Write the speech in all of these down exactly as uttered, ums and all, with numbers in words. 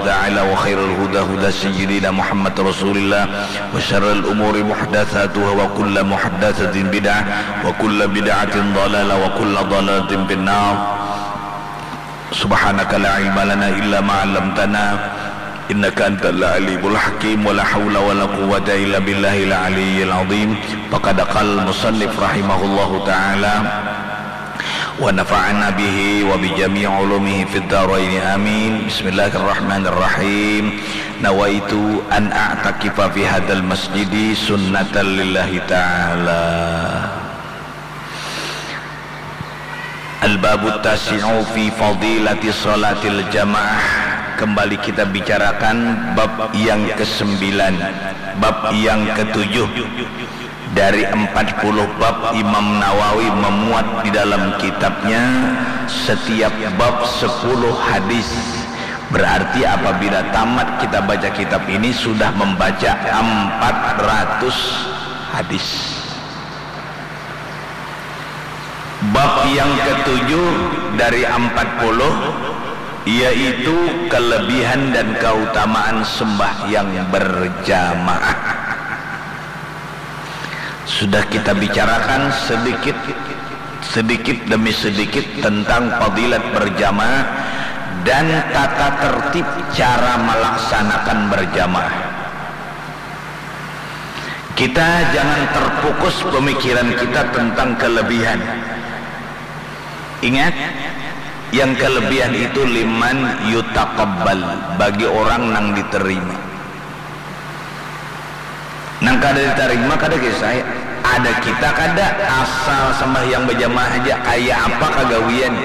تعالى وخير الهدى هدى سيدنا محمد رسول الله وشر الأمور محدثاتها وكل محدثة بدعة وكل بدعة ضلالة وكل ضلالة في النار. سبحانك لا علم لنا إلا ما علمتنا إنك أنت العليم الحكيم ولا حول ولا قوة إلا بالله العلي العظيم. فقد قال المصنف رحمه الله تعالى ونفعنا به وبجميع علومه في الدارين آمين. بسم الله الرحمن الرحيم. نويت أن أعتكف في هذا المسجد سنة لله تعالى. Al-babu tasi'u fi fadilati salatil jamaah. Kembali kita bicarakan bab yang kesembilan, bab yang ketujuh. Dari empat puluh bab Imam Nawawi memuat di dalam kitabnya setiap bab sepuluh hadis. Berarti apabila tamat kita baca kitab ini sudah membaca empat ratus hadis. Bab yang ketujuh dari empat puluh, yaitu kelebihan dan keutamaan sembahyang berjamaah. Sudah kita bicarakan sedikit, sedikit demi sedikit tentang fadilat berjamaah dan tata tertib cara melaksanakan berjamaah. Kita jangan terfokus pemikiran kita tentang kelebihan. Ingat, yang kelebihan itu liman yutaqabbal, bagi orang nang diterima. Nang kada diterima kada kisah. Ada kita kada asal sembahyang berjamaah aja, kayak apa kagawian.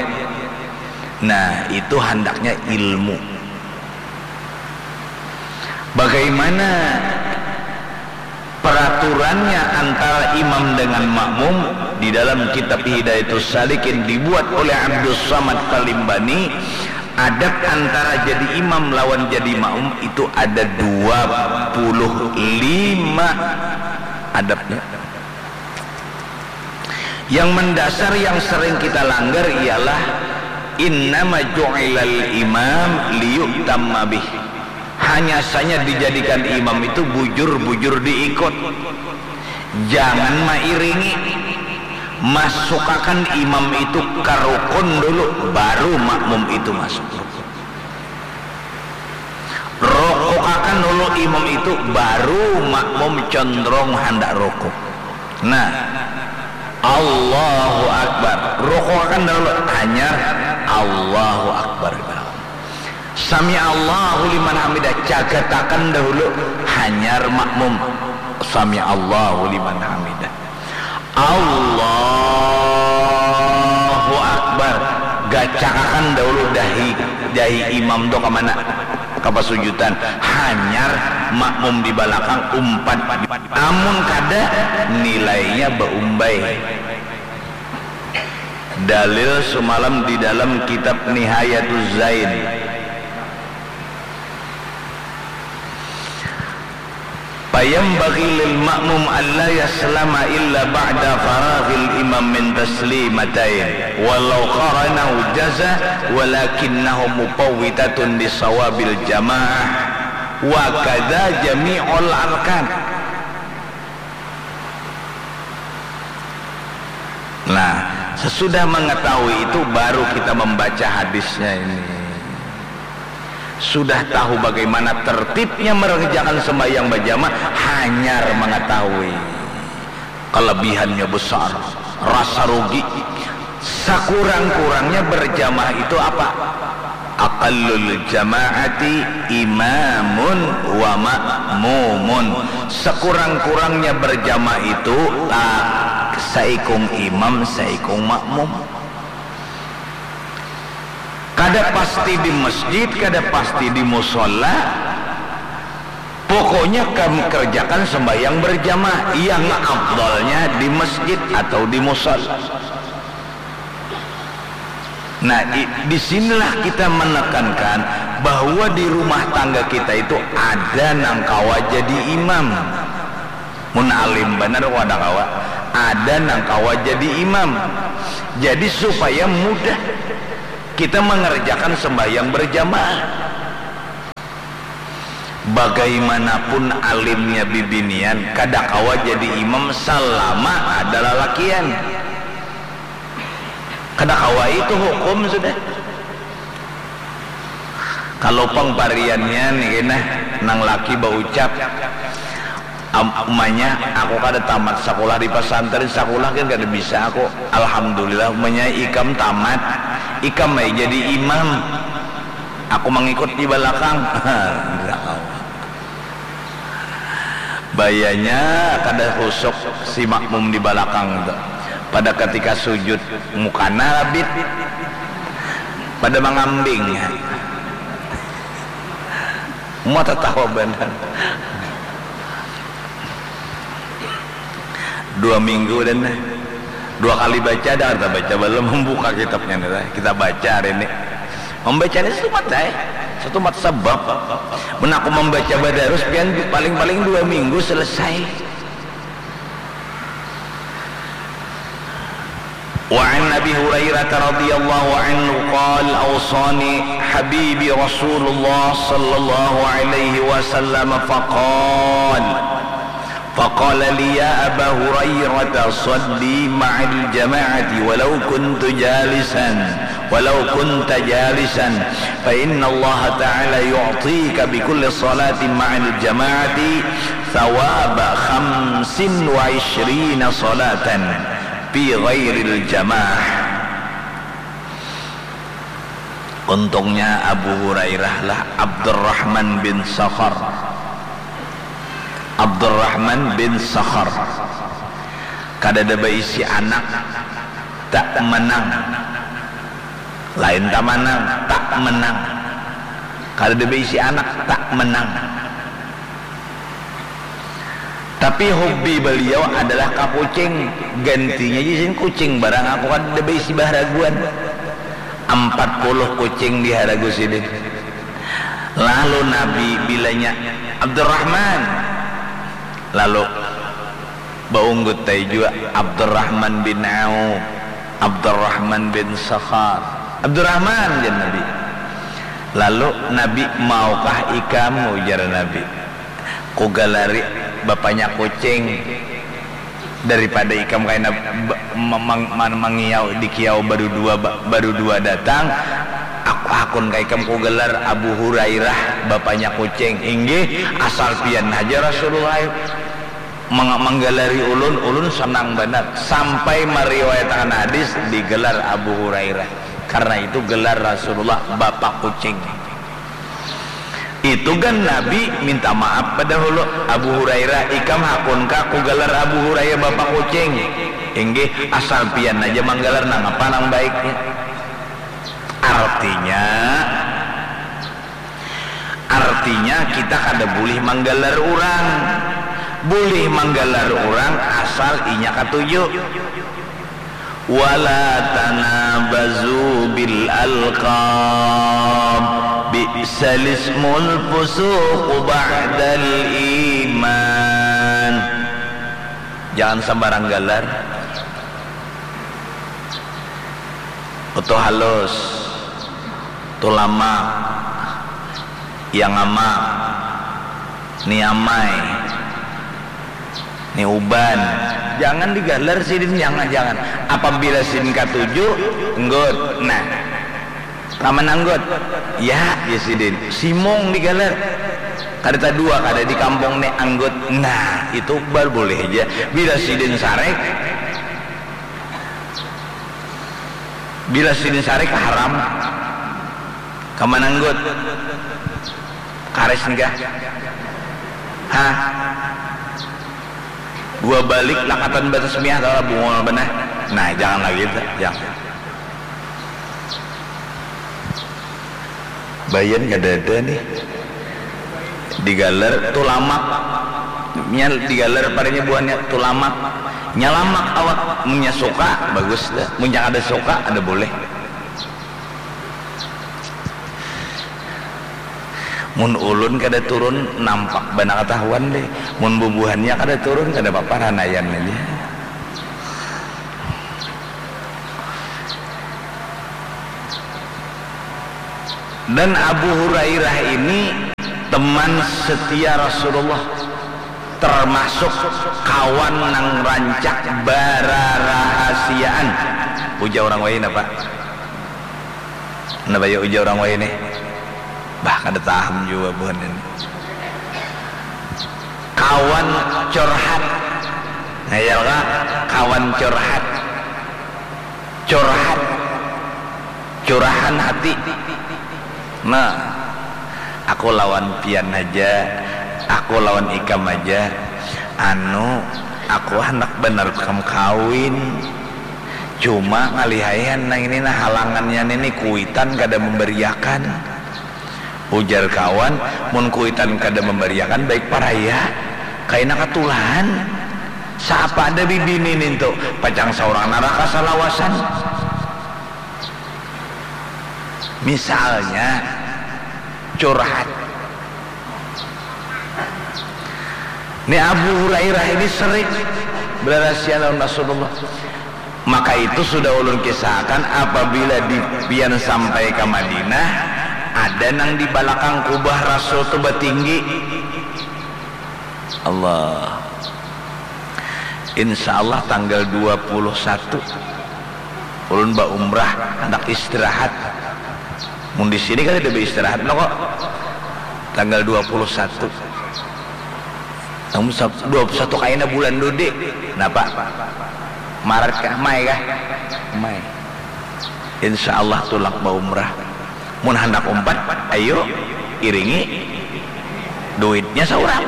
Nah, itu handaknya ilmu. Bagaimana peraturannya antara imam dengan makmum? Di dalam kitab Hidayatus Salikin dibuat oleh Abdus Samad Kalimbani, adab antara jadi imam lawan jadi makmum itu ada dua puluh lima adabnya. Yang mendasar yang sering kita langgar ialah innama ju'ilal imam liyu'tamma bih. Hanya saja dijadikan imam itu bujur-bujur diikut. Jangan mairingi. Masukakan imam itu ka rukun dulu, baru makmum itu masuk rukun. Rokokakan dulu imam itu, baru makmum condrong handak rokok. Nah, Allahu Akbar. Rokokakan dahulu, hanyar Allahu Akbar. Sami Allahu liman hamidah, cagatakan dahulu, hanyar makmum. Sami Allahu liman hamidah. Allahu Akbar. Gacakakan dahulu dahi, dahi imam tu ka mana? Ka pasujutan. Hanyar makmum di balakang umpat. Amun kada, nilainya baumbai. Dalil sumalam di dalam kitab Nihayatuz Zain. Fayambaghi lil ma'mum alla yaslama illa ba'da faraghil imam min taslimatain, walau qaranahu jaza, walakinnahu mufawwitatun li sawabil jamaah, wa kadza jami'ul arkan. Nah, sesudah mengetahui itu baru kita membaca hadisnya ini. Sudah tahu bagaimana tertibnya mengerjakan sembahyang berjamaah, hanyar mengetahui kelebihannya besar, rasa rugi. Sakurang-kurangnya berjamaah itu apa? Aqallul jamaati imamun wa ma'mumun. Sakurang-kurangnya berjamaah itu, ah, saikung imam, saikung makmum. Kada pasti di masjid, kada pasti di musola. Pokoknya kam kerjakan sembahyang berjamaah. Yang afdalnya di masjid atau di musola. Nah, i-, di sinilah kita menekankan bahwa di rumah tangga kita itu ada nang kawa jadi imam. Mun alim banar kada kawa, ada nang kawa jadi imam. Jadi supaya mudah kita mengerjakan sembahyang berjamaah. Bagaimanapun alimnya bibinian, kada kawa jadi imam salama ada lalakian. Kada kawa, itu hukum sudah. Kalau pang pariannya nih kena nang laki baucap, "Am-, umanya aku kada tamat sakulah di pasantren, sakulah kan kada bisa aku." "Alhamdulillah, umanya ikam tamat, ikam ai jadi imam. Aku mangikut di balakang." Kada kawa. Bayanya kada husuk si makmum di balakang tu. Pada ketika sujud, mukana rabit. Pada mangambing. Mau tatawa banar. Dua minggu dan dua kali baca, dah kita baca belum, membuka kitabnya nih, dah. Kita baca hari ini. Membaca ini setumat, dah. Setumat sebab. Mun aku membaca badarus, pian paling-paling dua minggu selesai. وعن أبي هريرة رضي الله عنه قال: أوصاني حبيبي رسول الله صلى الله عليه وسلم فقال، فقال لي: يا أبا هريرة، صل مع الجماعة ولو كنت جالسا، ولو كنت جالسا، فإن الله تعالى يعطيك بكل صلاة مع الجماعة ثواب خمس وعشرين صلاة في غير الجماعة. Untungnya Abu Hurairah lah Abdurrahman bin Sakhar. Abdurrahman bin Sakhar kadada baisi anak, tak menang. Lain tamanang, tak menang. Kadada baisi anak, tak menang. Tapi hobi beliau adalah ka kucing. Gantinya ja sidin kucing barang, aku kada baisi baharaguan. Ampat puluh kucing diharagu sidin. Lalu Nabi bilanya, "Abdurrahman." Lalu baunggut ai jua, "Abdurrahman bin Auf, Abdurrahman bin Sakhar." "Abdurrahman," jar Nabi. Lalu Nabi, "Maukah ikam," ujar Nabi, "kugalari bapanya kucing daripada ikam kaina ba-, ma-, mang-, man-, mangiau di kiau badudua ba-, badudua datang? Aku hakun ka ikam kugalar Abu Hurairah bapanya kucing." "Inggih, asal pian haja Rasulullah mang-, manggalari ulun, ulun sanang banar." Sampai mariwayatakan hadis digalar Abu Hurairah. Karna itu gelar Rasulullah bapa kucing. Itu kan Nabi minta maaf badahulu, "Abu Hurairah, ikam hakun kah kugalar Abu Hurairah bapa kucing?" "Inggih, asal pian haja manggalar, nangapa nang baiknya?" Artinya, artinya kita kada bulih manggalar urang. Bulih manggalar urang asal inya katuju. "Wala tanabazu bil alqab, bi'sal ismul fusuqu ba'dal iman." Jangan sembarang galar. Utuh Halus, Tulamak, Yang Amak, Ni Amai, Ni Uban. Jangan digalar sidin, jangan, jangan. Apabila sidin katuju, nggut. Nah, paman anggut. Ya, ya sidin. Simung digalar. Kada tadua, kada di kampung ni anggut. Nah, itu baru boleh aja. Bila sidin sarek, bila sidin sarek haram. Kaman anggut. Karis nih kah? Hah? Dua balik lakatan batas miah, tahu lah, bungul benar. Nah, jangan lagi, jangan. Bayan kadada nih. Digalar tulamak. Nya digalar padanya buhannya tulamak. Nya lamak awak. Munnya suka, bagus dah. Munnya kada suka, ada boleh. Mun ulun kada turun, nampak banar katahuan deh. Mun bubuhannya kada turun, kada papa, ranaian aja. Dan Abu Hurairah ini Teman setia Rasulullah, termasuk kawan nang rancak bararahasiaan. Ujar urang wahini napa? Napa ya ujar urang wahini? Bah, kada tahan jua buhan ini. Kawan curhat. Ngayal kah? Kawan curhat. Curhat. Curahan hati. Nah, aku lawan pian haja, aku lawan ikam haja. Anu, aku handak banar kam kawin. Cuma ngalihaian nang ini nah halangannya nini kuitan kada memberiakan. Ujar kawan, mun kuitan kada memberiakan baik paraya, kaina katulan. Saapa ada bibini nintu, pacang saurang naraka salawasan. Misalnya, curhat. Ni Abu Hurairah ini sering berarasia lawan Rasulullah. Maka itu sudah ulun kisahkan, apabila di pian sampai ke Madinah, ada nang di balakang kubah Rasul tu batinggi. Allah. Insya Allah tanggal dua puluh satu ulun baumrah, handak istirahat. Mun di sini kan tidak beristirahat lo kok. Tanggal dua puluh satu. Namun dua puluh satu kaina bulan dudi. Napa? Maret kah? Mai kah? Mai. Insya Allah tulak baumrah. Mun handak umpat, ayo iringi duitnya saurang.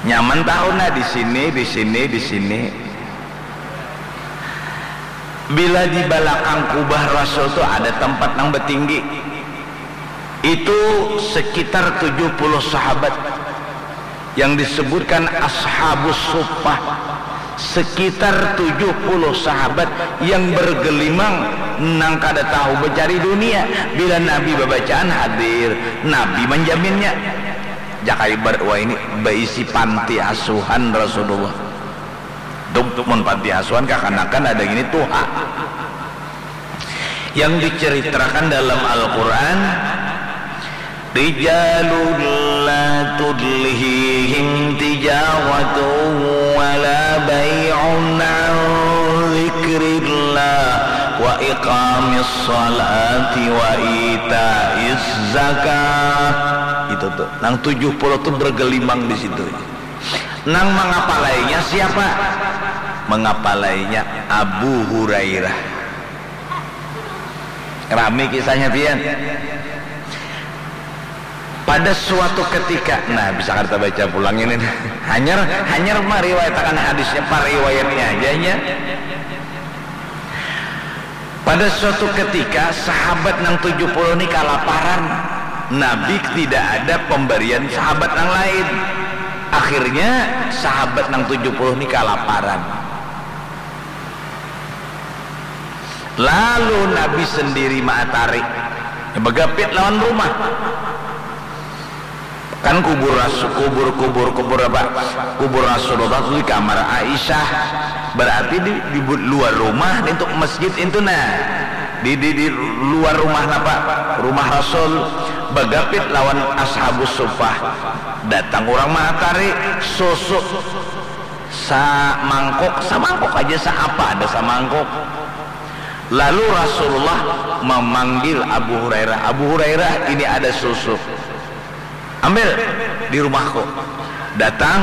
Nyaman tahu nah di sini, di sini, di sini. Bila di balakang kubah Rasul tu ada tempat nang batinggi. Itu sekitar tujuh puluh sahabat yang disebutkan Ashabus Suffah, sekitar tujuh puluh sahabat yang bergelimang nang kada tahu mencari dunia. Bila Nabi babacaan hadir, Nabi menjaminnya. Jaka ibarat wah ini baisi panti asuhan Rasulullah. Dup, mun panti asuhan kakanakan ada gini tuha. Yang diceritakan dalam Al-Quran, rijalun la tulhihim tijaratun wala bai'un an zikrillah wa iqamis salati wa itaiz zakah. Itu tuh, nang tujuh puluh tuh bergelimang di situ. Nang mangapalainya siapa? Mangapalainya Abu Hurairah. Rami kisahnya pian. Pada suatu ketika, nah, bisa kada tabaca pulang ini. Hanyar, hanyar mariwayatakan hadisnya, pariwayatnya aja nya. Pada suatu ketika, sahabat nang tujuh puluh ni kalaparan. Nabi tidak ada pemberian sahabat nang lain. Akhirnya, sahabat nang tujuh puluh ni kalaparan. Lalu Nabi sendiri maatari, bagapit lawan rumah. Kan kubur Rasul, kubur, kubur, kubur apa? Kubur Rasulullah tu di kamar Aisyah. Berarti di, di bu-, luar rumah, nintu masjid intu nah. Di, di, di luar rumah napa? Rumah Rasul. Bagapit lawan Ashabus Suffah. Datang urang maatari, susu. Samangkuk, samangkuk aja, saapa ada samangkuk. Lalu Rasulullah memanggil Abu Hurairah, "Abu Hurairah, ini ada susu. Ambil di rumahku." Datang,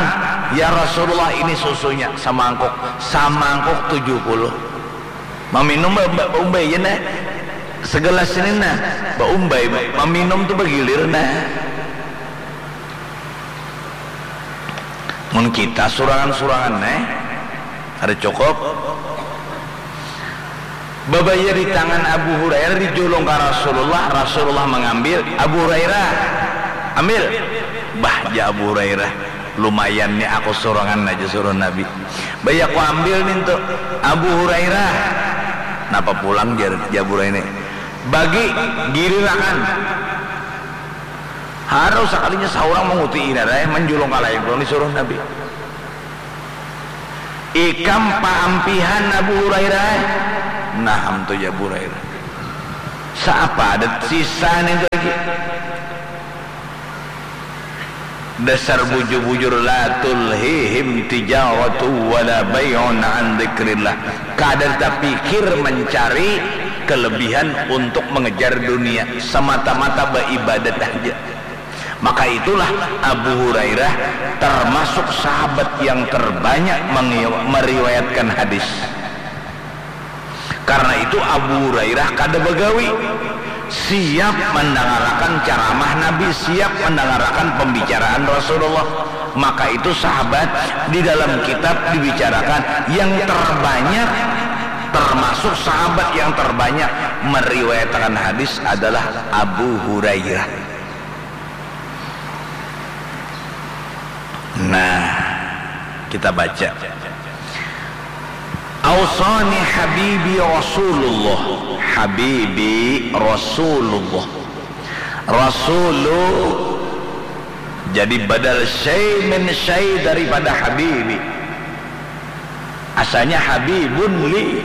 "Ya Rasulullah, ini susunya, samangkuk." Samangkuk tujuh puluh. Maminum ba-, ba-, baumbai ja nah. Segelas ini nah, baumbai, maminum tu bagilir nah. Mun kita surangan-surangan, eh, kada cukup. Babaya di tangan Abu Hurairah, dijulung ka Rasulullah, Rasulullah mangambil, "Abu Hurairah, ambil." "Bah," jar Abu Hurairah, "lumayan ni aku surangan aja," suruh Nabi. "Baya ku ambil nintu, Abu Hurairah." "Napa pulang?" jar, jar Abu Hurairah ni. "Bagi, gilirakan." Harus sakalinya saurang manguti inar ai, manjulung ka lain pulang disuruh Nabi. "Ikam paampihan Abu Hurairah ai?" "Naham tu," jar Abu Hurairah. "Saapa ada sisa nintu Dasar bujur-bujur, la tulhihim tijaratu wala bai'un an dzikrillah. Kada tapikir mencari kelebihan untuk mengejar dunia, semata-mata beribadat aja. Maka itulah Abu Hurairah termasuk sahabat yang terbanyak mengi- meriwayatkan hadis. Karena itu Abu Hurairah kada bagawi, siap mendangarakan caramah Nabi, siap mendangarakan pembicaraan Rasulullah. Maka itu sahabat di dalam kitab dibicarakan yang terbanyak, termasuk sahabat yang terbanyak meriwayatkan hadis adalah Abu Hurairah. Nah, kita baca. Ausani habibi Rasulullah. Habibi Rasulullah. Rasulu jadi badal syai min syai daripada habibi. Asalnya habibun li.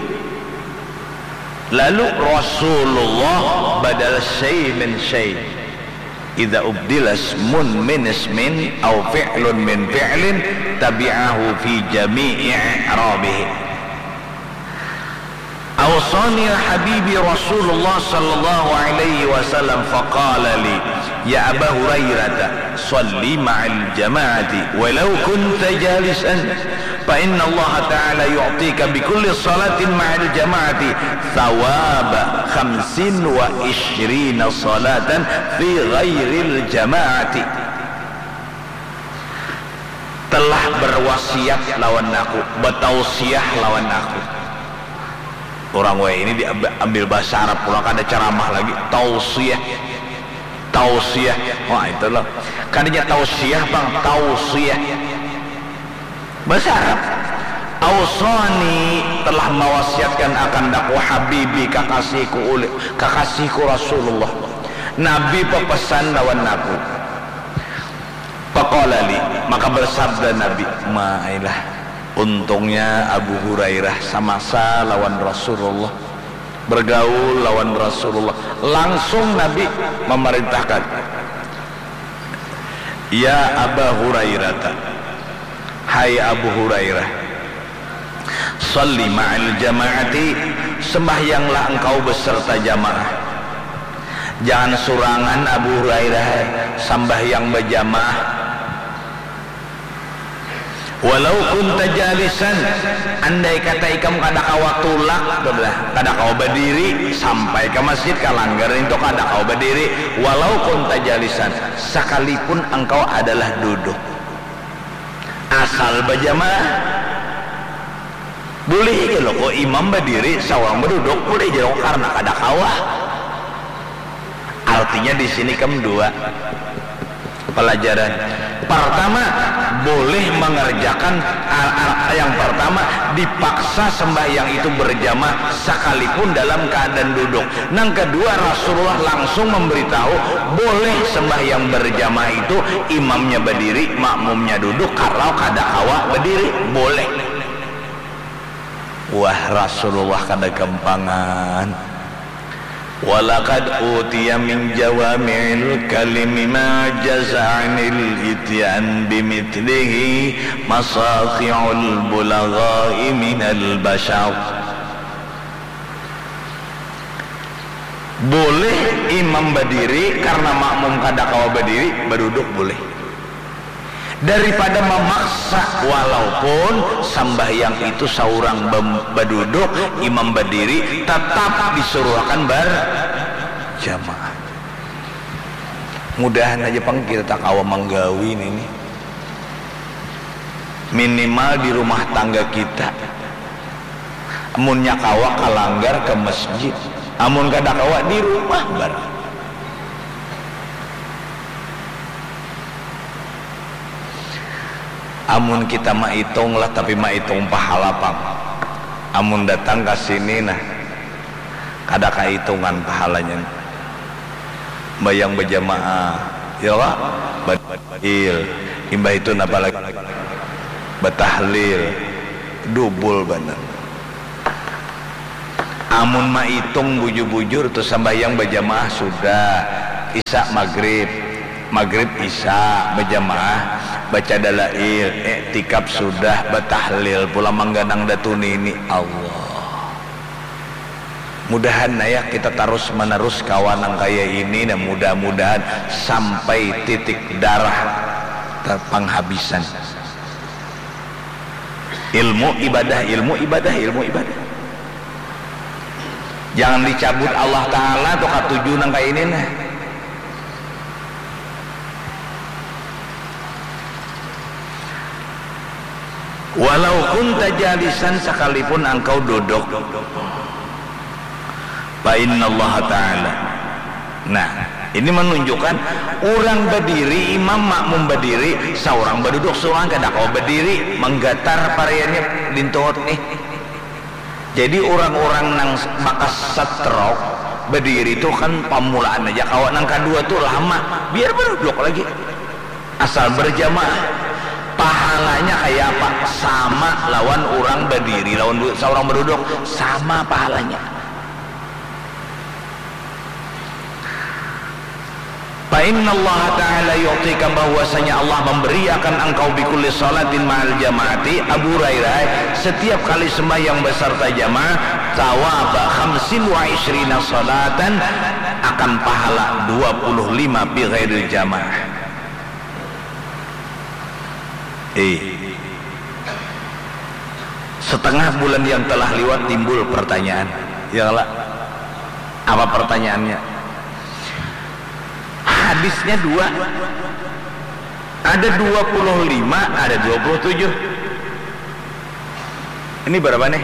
Lalu Rasulullah badal syai min syai. Idza ubdila ismun min ismin au fi'lun min fi'lin tabi'ahu fi jami'i i'rabihi. Ausani habibi Rasulullah sallallahu alaihi wasallam faqala li, ya Aba Hurairah, salli ma'al jama'ati walau kunta jalisan, fa inna Allah ta'ala yu'tika bi kulli salatin ma'al jama'ati thawaba khamsin wa ishrina salatan fi ghairil jama'ati. Telah berwasiat lawan aku, batausiah lawan aku. Orang waya ini diambil bahasa Arab pulang, kada ceramah lagi, tausiah. Tausiah. Wah, itu loh. Kadanya tausiah, Bang, tausiah. Bahasa Arab. Ausani, telah mawasiatkan akan daku habibi, kakasihku ulih, kakasihku Rasulullah. Nabi pepesan lawan aku. Faqala li, maka bersabda Nabi, mailah, untungnya Abu Hurairah samasa lawan Rasulullah, bergaul lawan Rasulullah, langsung Nabi memerintahkan, ya Aba Hurairata, hai Abu Hurairah, salli ma'al jama'ati, sembahyanglah engkau beserta jamaah. Jangan surangan Abu Hurairah sambahyang bajamaah. Walau kunta jalisan, andai kata ikam kada kawa tulak, kada kawa badiri, sampai ka masjid, ka langgar nintu kada kawa badiri, walau kunta jalisan, sakalipun engkau adalah duduk. Asal bajamaah. Bulih ja lo ko imam badiri, saurang baduduk, bulih ja lo ko karna kada kawa. Artinya di sini kam dua pelajaran. Pertama, boleh mengerjakan, a- a- yang pertama, dipaksa sembahyang itu berjamaah sekalipun dalam keadaan duduk. Nang kedua, Rasulullah langsung memberitahu, boleh sembahyang berjamaah itu imamnya berdiri, makmumnya duduk, kalau kada kawa berdiri, boleh. Wah, Rasulullah kada gampangan. Walaqad utiya min jawami'il kalimi ma jaza anil ityan bimithlihi masati'ul bulagha'i minal bashar. Boleh imam badiri karena makmum kada kawa badiri, baduduk boleh. Daripada mamaksa, walaupun sambahyang itu saurang bam- baduduk, imam badiri, tetap disuruhakan berjamaah. Mudahan aja pang kita tak kawa manggawi ini. Minimal di rumah tangga kita. Amunnya kawa, ka langgar, ka masjid. Amun kada kawa, di rumah banar. Amun kita maitung lah, tapi maitung pahala pang. Amun datang ka sini nah, kada kaitungan pahalanya. Bayang bajamaah, ya kah? Badil. Imbah itu napa lagi? Batahlil. Dubul banar. Amun maitung bujur-bujur tu, sambahyang bajamaah sudah, Isa Magrib, Magrib Isa bajamaah, baca dalail, iktikaf sudah, batahlil pulang mangganang datu nini. Allah. Mudahan naya kita tarus manerus kawa nang kaya ini, nah mudah-mudahan sampai titik darah terpanghabisan. Ilmu ibadah, ilmu ibadah, ilmu ibadah. Jangan dicabut Allah Ta'ala tu katuju nang kaya ini nah. Walau kunta jalisan, sakalipun angkau duduk. Fa innallaha ta'ala. Nah, ini menunjukkan urang badiri, imam makmum badiri, saurang baduduk, saurang kada kawa badiri, manggatar pariannya lintuhut nih. Jadi urang-urang nang bakas stroke badiri tu kan pamulaan aja kawa, nang kadua tu lama, biar baduduk lagi. Asal berjamaah, pahalanya kaya apa? Sama lawan urang badiri lawan du- saurang baduduk, sama pahalanya. Fa innallaha ta'ala yu'tika, bahwasanya Allah memberi akan engkau, bikulli salatin ma'al jama'ati, Abu Hurairah, setiap kali sembahyang beserta jamaah, thawaba khamsin wa isyrina salatan, akan pahala dua puluh lima bi ghairil jamaah. Eh. Setengah bulan yang telah liwat timbul pertanyaan. Ya lah. Apa pertanyaannya? Hadisnya dua. Ada dua puluh lima, ada dua puluh tujuh. Ini berapa nih?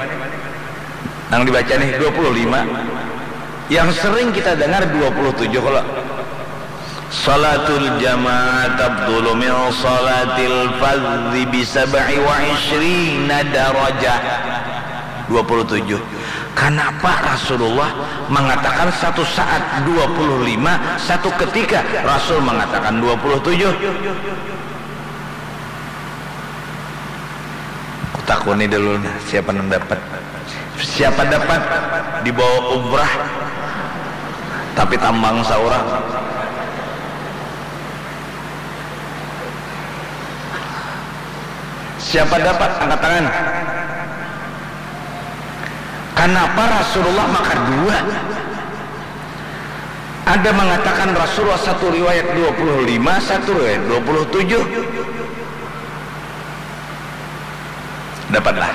Nang dibaca nih dua puluh lima. Yang sering kita dengar dua puluh tujuh kalau salatul jamaah tabdulu min salatil fardhi bi sab'i wa isyrina darajah. dua puluh tujuh. Kenapa Rasulullah mengatakan satu saat dua puluh lima, satu ketika Rasul mengatakan dua puluh tujuh? Kutakuni dulu nah, siapa nang dapat? Siapa dapat dibawa umrah tapi tambang saurang? Siapa dapat angkat tangan? Kenapa Rasulullah maka dua? Ada mengatakan Rasulullah satu riwayat dua puluh lima, satu riwayat dua puluh tujuh. Dapatlah.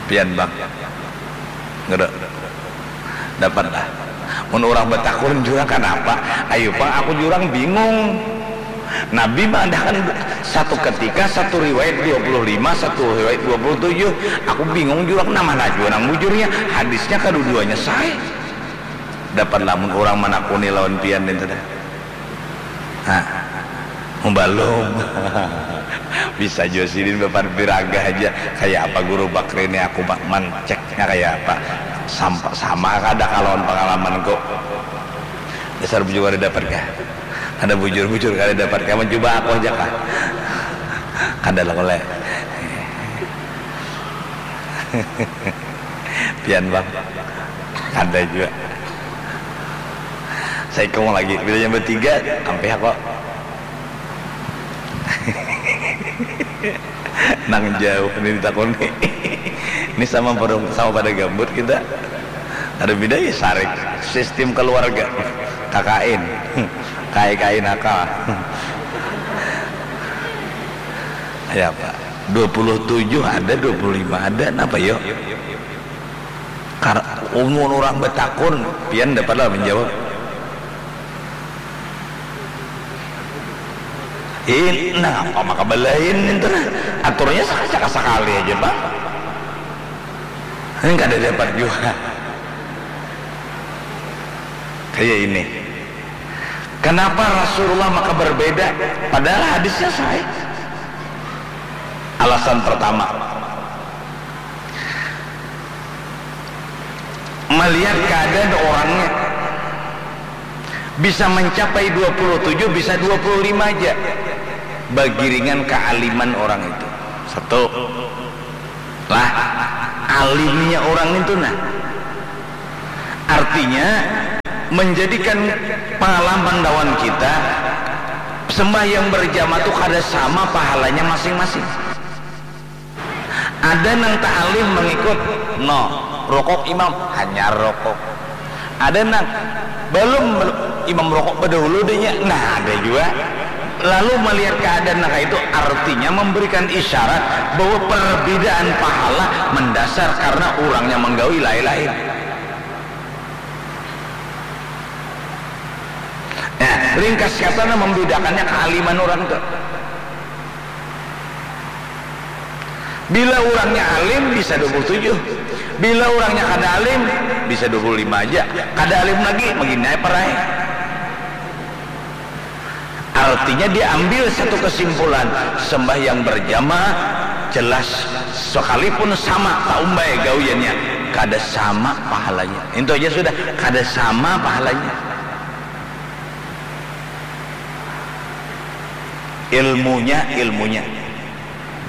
Pian bang. Ngedok. Dapatlah. Mun urang batakun jurang kanapa? Ayu pang aku jurang bingung. Nabi mengadakan satu ketika, satu riwayat dua puluh lima, satu riwayat dua puluh tujuh. Aku bingung jurang, nah mana jua nang bujurnya? Hadisnya kaduduanya sahih. Dapat lamun urang manakuni lawan pian nintu dah. Nah, mubalum. Bisa jua sidin bapan piragah aja. Kaya apa guru bakri ni aku manceknya kaya apa? Sampa, sama kada kalawan pangalamanku. Dasar bujur kada dapat kah? Kada bujur-bujur kada dapat kah? Mencuba aku aja kah? Kada lah kule. Pian bang. Kada jua. Saikung lagi. Bila yang bertiga, ampih aku. Nang jauh ni ditakuni. Ini sama pada sama pada gambut kita. Ada beda ya sarik sistem keluarga. K K N. K I K I nakal. Ya Pak. Dua puluh tujuh ada, dua puluh lima ada, napa yo? Kar umur orang betakun, pian dapat lah menjawab. Ini napa maka belain itu nah. Aturnya sakacaka sakali aja bang. Ini kada dapat juga. Kayak ini. Kenapa Rasulullah maka berbeda? Padahal hadisnya sahih. Alasan pertama, melihat keadaan orangnya, bisa mencapai dua puluh tujuh, bisa dua puluh lima aja. Bagiringan kealiman orang itu. Satu. Lah, alimnya orang itu nah. Artinya, menjadikan pengalaman lawan kita, sembahyang berjamaah tu kada sama pahalanya masing-masing. Ada nang ta'alim mengikut, no, rokok imam, hanyar rokok. Ada nang balum, imam rokok badahulu deh nya, nah, ada jua. Lalu melihat keadaan nang kaya itu, artinya memberikan isyarat bahwa perbedaan pahala mendasar karena urangnya menggawi lain-lain. Nah, ringkas kata nah membedakannya kealiman urang tu. Bila urangnya alim bisa dua puluh tujuh. Bila urangnya kada alim bisa dua puluh lima aja. Kada alim lagi, magini ai parai. Artinya diambil satu kesimpulan, sembahyang berjamaah jelas sekalipun sama taumbai gawiannya, kada sama pahalanya. Itu aja sudah, kada sama pahalanya. Ilmunya, ilmunya.